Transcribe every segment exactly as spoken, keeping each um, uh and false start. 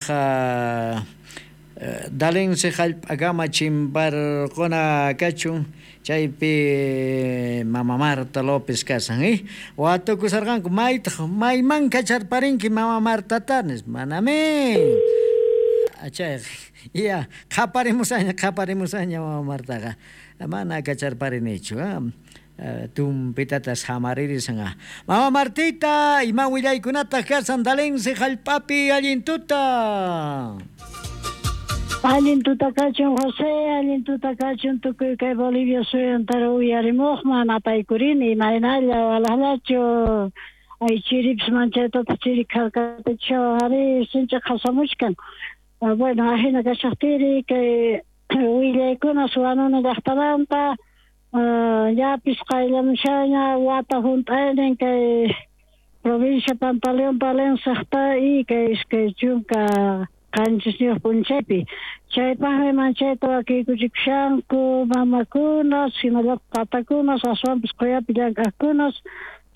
Chaypaj Dalense jallp'akama chimparquna kachun chaypi Mama Marta López kasan eh watukusarqanku maytaq mayman kacharparinki Mama Martata nispa manami chayqa ya qhaparimusaña qhaparimusaña Mama Martaqa mana kacharparinichu tumpitata samaririsan. Mama Martita, ima willaykunataq kasan Dalense jallp'api allin tuta. Allin tuta kachun José, allin tuta kachun tukuy kay Bolivia suyantara uyarimuqman apaykurini imaynalla walahlachu ay chiripis manchaytata chiri kharkatachawan ari sinchi qhasamuchkan. Bueno, ajina kashaqtiri kay willaykuna Suwanuna llaqtamanta llapis qayllamushaña wata hunt'aynin kay provincia Pantaleón Palencia y kay iskay chunka qanchisniyuq p'unchaypi chaypaqmi manchayta wakiykuchikushanku mamakunas hinallataq tatakunas aswanpis quyapi llank'aqkunas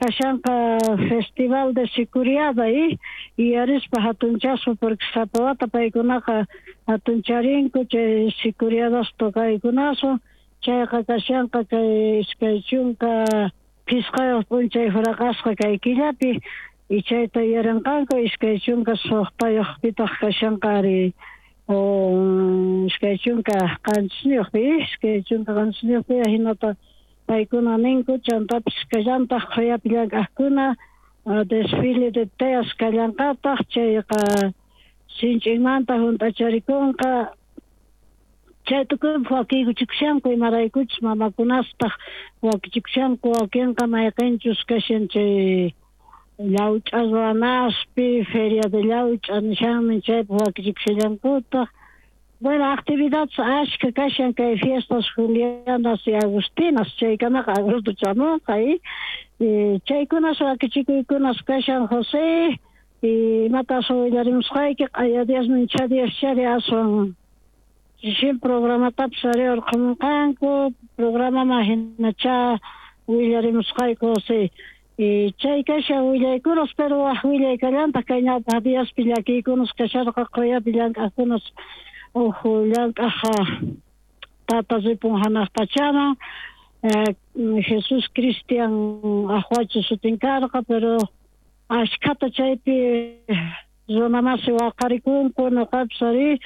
kashanqa festival de Sicuriada y yuyarispa hatunchaspa porque sapa wata paykunaqa hatuncharinku chay Sicuriadas tocaykunaswan chayqa kashanqa kay iskay chunka phisqayuq p'unchay huraqasqa kay killapi y chayta yuyarinqanku iskay chunka suqtayuqpitaq kashanqa ari iskay chunka qanchisniyuqpi iskay chunka qanchisniyuqpi hinata paykuna ninku chantapis kallantaq quyapi llank'aqkuna desfile de teas kallanqataq chayqa sinch'inmanta hunt'acharikunqa chay tukuypaq wakiykuchikushanku imaraykuchus mamakunastaq wakichikushanku wakinqa mayqinchus kashan chay llawch'a ruwanaspi feria de llawch'a nishanmi chaypaq wakichikushallankutaq. Bueno, actividades ashka kashan kay fiestas Julianas y Agustinas chaykamaqa agosto chamunqa y chaykunas wakichikuykunas kashan José y imatas willarimusqayki q'aya diasmin cha dias chari aswan chishin programatapis ari urqhumunqanku programaman hinacha willarimusqayku José. Y chay kashan willaykunas pero waj willay kallantaq kay ñawpaq diaspi llakiykunas kasharqa quyapi llank'aqkunas uj llank'aq tata ripun hanaq pachaman Jesús Cristian Ajuachi sutin karqa pero ashkhata chaypi runamasi waqarikunku nuqapis ari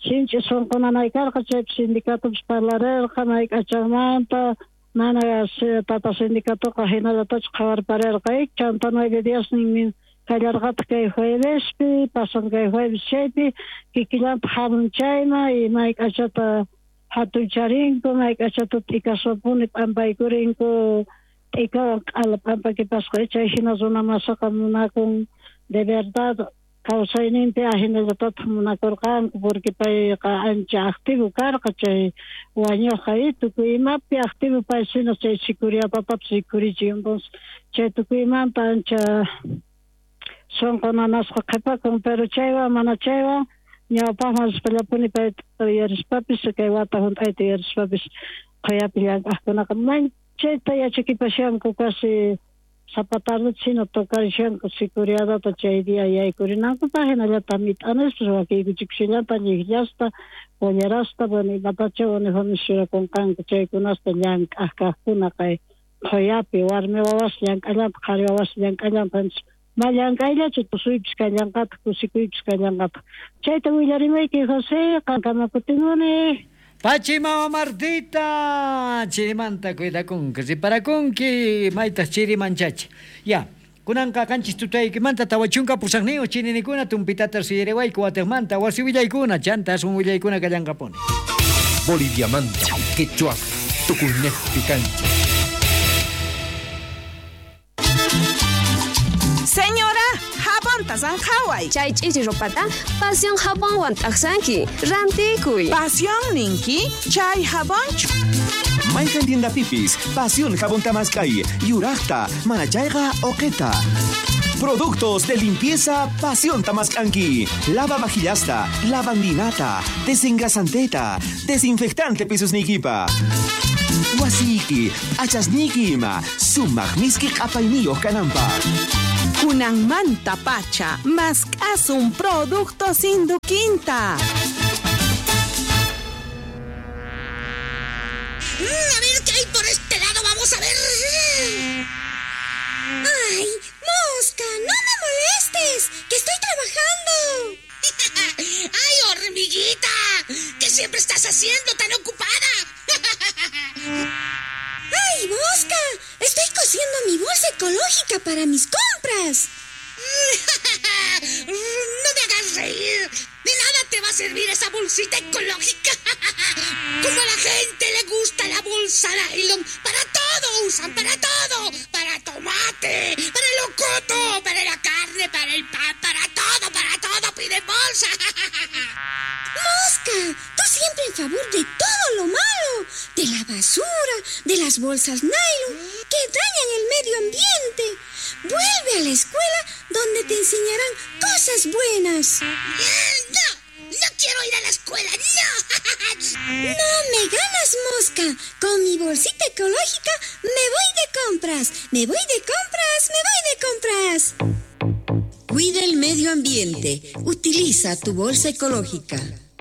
sinchi sunqunanay karqa chaypi sindicatopis parlarerqa mayk'achanmanta mana tata sindicatoqa hinallatachu qhawarparerqa chanta nueve diasnin kallarqataq kay juevespi pasan kay jueves chaypi kikillantaq hamun chayman y mayk'achata hatuncharinku mayk'achata t'ikaswapuni p'ampaykurinku t'ikawan q'ala p'ampakipasqa chay hina runamasaqa munakun de verdad kawsayninpi ahinallatataq munakurqanku porque payqa ancha activo karqa chay wañuqqa y tukuy imapi activo pay sino chay sicuriatatapis rikurichin entonces chay tukuymanta ancha sunqu nanasqa qhipakun pero chaywan mana chaywan ñawpaqman rispallapuni payta yuyarispapis kay wata hunt'ayta yuyarispapis quyapi llank'aqkunaqa manchayta yachakipashanku casi sapa tardeta sino tocarishanku sicuriadata chay día yaykurinankupaq hinallataq mit'anispas wakiykuchikushallanta llikllasta pollerasta bueno imatacha uniformes churakunqanku chaykunasta llank'aq kaqkuna kay quyapi warmi wawas llank'allantaq qhari wawas llank'allantaq ma llank'ayllachu tusuypis kallanqataq kusikuypis kallanqataq chayta willarimayki José qankama kutimuni. Pachi Mama Martita, chirimanta cuidakunki, riparakunki, maytaq chirimanchachi. Ya, kunanqa qanchis tutaykimanta tawa chunka pusaqniyuq chirinikuna tumpitata suyariwayku watiqmanta wasi willaykuna chanta asun willaykuna kallanqapuni. Boliviamanta, quechua, tukuynejpi kancha. Señora, jabonta zanjaway. Chay ch'iri ropata Pasión jabonwan t'aqsanki. Rantikuy. Pasión ninki, chay jabonchu. Mayqan tiendapipis, Pasión jabón tamaskay, yuraqta, manachayqa oqeta. Productos de limpieza Pasión Tamascanqui. Lava vajillasta, lavandinata, desengrasanteta, desinfectante pisos nikipa. Wasiki, achasniki ima, sumaq miski q'apayniyuq kananpaq. Kunanmanta pacha, mask'asun productos Induquinta. A ver qué hay por este lado, vamos a ver. ¡Ay, mosca! ¡No me molestes! ¡Que estoy trabajando! ¡Ay, hormiguita! ¿Qué siempre estás haciendo tan ocupada? ¡Ay, mosca! Estoy cosiendo mi bolsa ecológica para mis compras. ¡No me hagas reír! De nada te va a servir esa bolsita ecológica. Como a la gente le gusta la bolsa nylon, para todo usan, para todo. Para tomate, para el locoto, para la carne, para el pan, para todo, para todo piden bolsa. ¡Mosca! Tú siempre en favor de todo lo malo, de la basura, de las bolsas nylon, que dañan el medio ambiente. Vuelve a la escuela donde te enseñarán cosas buenas. ¡No! ¡No quiero ir a la escuela! ¡No! ¡No me ganas, mosca! Con mi bolsita ecológica me voy de compras. ¡Me voy de compras! ¡Me voy de compras! Cuida el medio ambiente. Utiliza tu bolsa ecológica.